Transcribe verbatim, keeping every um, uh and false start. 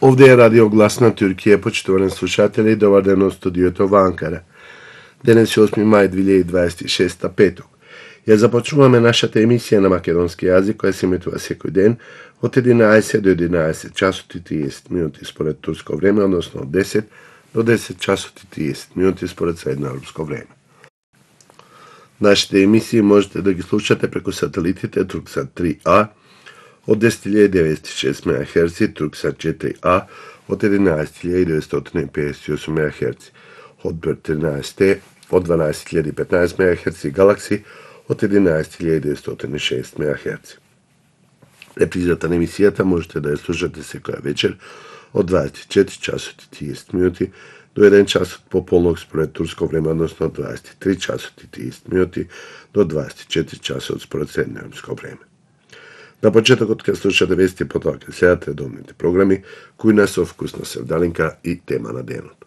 Овде е радио Глас на Туркија, почитувани слушатели, добар ден од студиото во Анкара. Денес е осми мај две илјади дваесет и шеста, петок. Ја започнуваме нашата емисија на македонски јазик, која се емитува секој ден од единаесет до единаесет часот и триесет минути според турско време, односно од десет до десет часот и триесет минути според средноевропско време. Нашите емисии можете да ги слушате преку сателитите Турксат три А од десет илјади деветстотини и шест мегахерци, Турксат четири А од единаесет илјади деветстотини и педесет и осум мегахерци, Хотбирд тринаесет Т од дванаесет илјади и петнаесет мегахерци и Галакси од единаесет илјади деветстотини и шест мегахерци. Репризата на емисијата можете да ја слушате секоја вечер од дваесет и четири часот и триесет минути до еден часот пополнок според турско време, односно дваесет и три часот и триесет минути до дваесет и четири часот според средноевропско време. На почетокот ќе слушате вести, потоа ќе следат редовните програми, кои на со вкусна севдалинка и тема на денот.